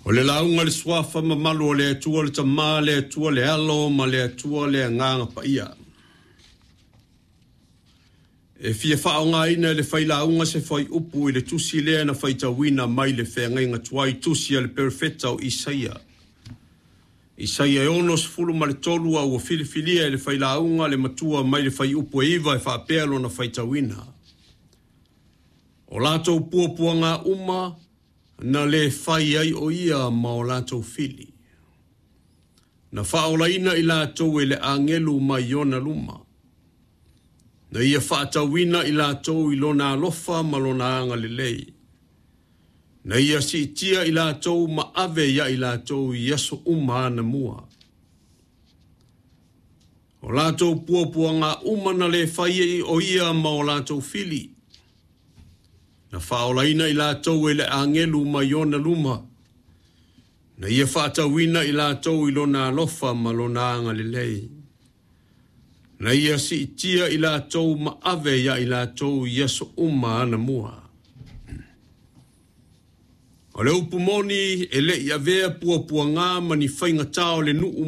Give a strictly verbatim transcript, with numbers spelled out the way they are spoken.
O le lauga le suafa mamalu o le Atua le Tama, le Atua le Alo ma le Atua le Agaga Paia. E fia faaaogaina e le failauga se fuaiupu i le tusi lea na faitauina mai le feagaiga tuai, tusi a le perofeta o Isaia. Isaia e ono sefulu ma le tolu, a ua filifilia e le failauga le matua mai le fuaiupu e iva e faapea lona faitauina. O latou puapuaga uma na le fai ai o ia ma o latou fili. Na faaolaina i latou e le agelu mai ona luma. Na ia faatauina i latou i lona alofa ma lona agalelei. Na ia siitia i latou ma ave ia i latou i aso uma anamua. O latou puapuaga uma na le fai ai o ia ma o latou fili. Na faaolaina i latou e le agelu mai ona luma. Na ia faatauina i latou i lona alofa ma lona agalelei. Na ia siitia i latou ma ave ia i latou i aso uma anamua. O le upu moni e le i avea puapuaga ma ni faigatā o le nuu.